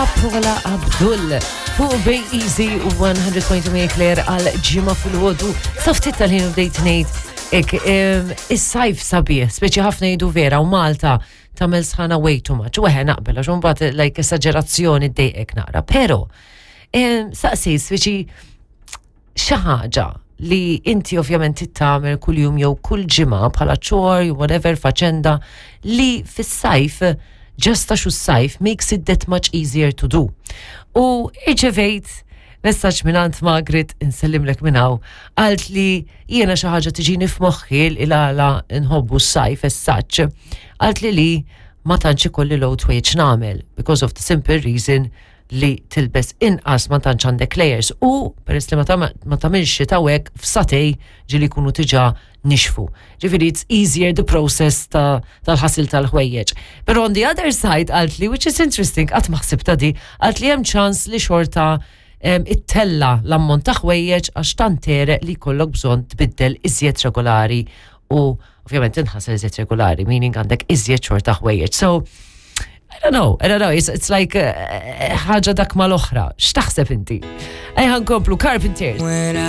Paula Abdul fuq Bay Easy 100.8 Claire għal ġimgħa fil-ħodu. Saftit tal-ħin u bdejt ngħid ek is-sajf sabiħ, speċi ħafna jgħidu vera u Malta tagħmel sħana way too much. U eħe naqbel għax imbagħad like esagerazzjoni ddejqek naqra. Però saqsi speċi xi ħaġa li inti ovvjament tittamel kuljum jew kull ġimgħa bħala chore, whatever, faċenda li fis-sajf just għax s-sajf makes it that much easier to do. U irċevejt messaġġ minn Margaret insellimlek minn hawn għalt li jiena xi ħaġa tiġini f'moħħi il għala nħobbu s-sajf as such. Għalt li ma tantx ikolli load ħwejjeġ nagħmel because of the simple reason li tilbes inqas, ma tantx għandek layers u peress li ma tagħmilx xita hekk, f'sagħtejn ġieli jkunu diġà nixfu. Ġifieri it's easier the process tal-ħasil tal-ħwejjeġ. Pero on the other side għalt li, which is interesting, qatt ma ħsibtha di, għalt li hemm ċans li xorta ittella l-ammont ta' ħwejjeġ għax tant tegħreq li jkollok bżonn tbiddel iżjed regolari u ovvjament inħasel iżjed regolari, meaning għandek iżjed xorta ħwejjeġ. So, I don't know, I don't know, it's like ħaġa dak mal-oħra. X'taħseb inti? Ejja nkomplu Carpenters.